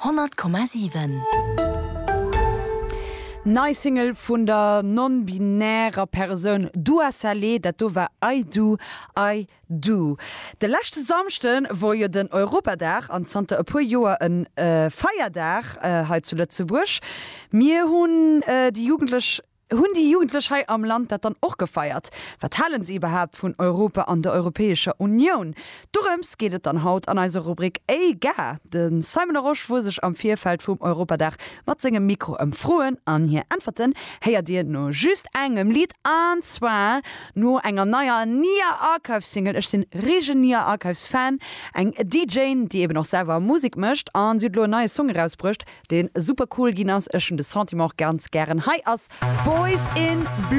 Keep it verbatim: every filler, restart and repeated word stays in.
honnert Komma siwen. Nei Single vun der non-binärer Persoun Dua Saleh, dat do war I Do, I Do. De leschte Samschde wor jo den Europadag an zanter e puer Joer e Feierdag hei zu Lëtzebuerg. Mir hunn déi Jugendlech Hunn déi Jugendlech hei am Land dat dann och gefeiert? Wat halen se iwwerhaapt vun Europa an der Europäescher Unioun? Dorëms geet et dann haut an eiser Rubrik Ey Ga! De Simon Larosche wor sech am Virfeld vum Europadag mat sengem Mikro ëmfroen an hir Äntwerten héiert dir no just engem Lidd an zwar no enger neier Nia Archives Single. Ech sinn riesegen Nia Archives Fan, eng DJ déi eben och selwer Musek mécht an si huet elo en neie Song erausbruecht, deen super cool ginn ass. Ech hunn de Sentiment och ganz gären. Hei ass Boys in Blue.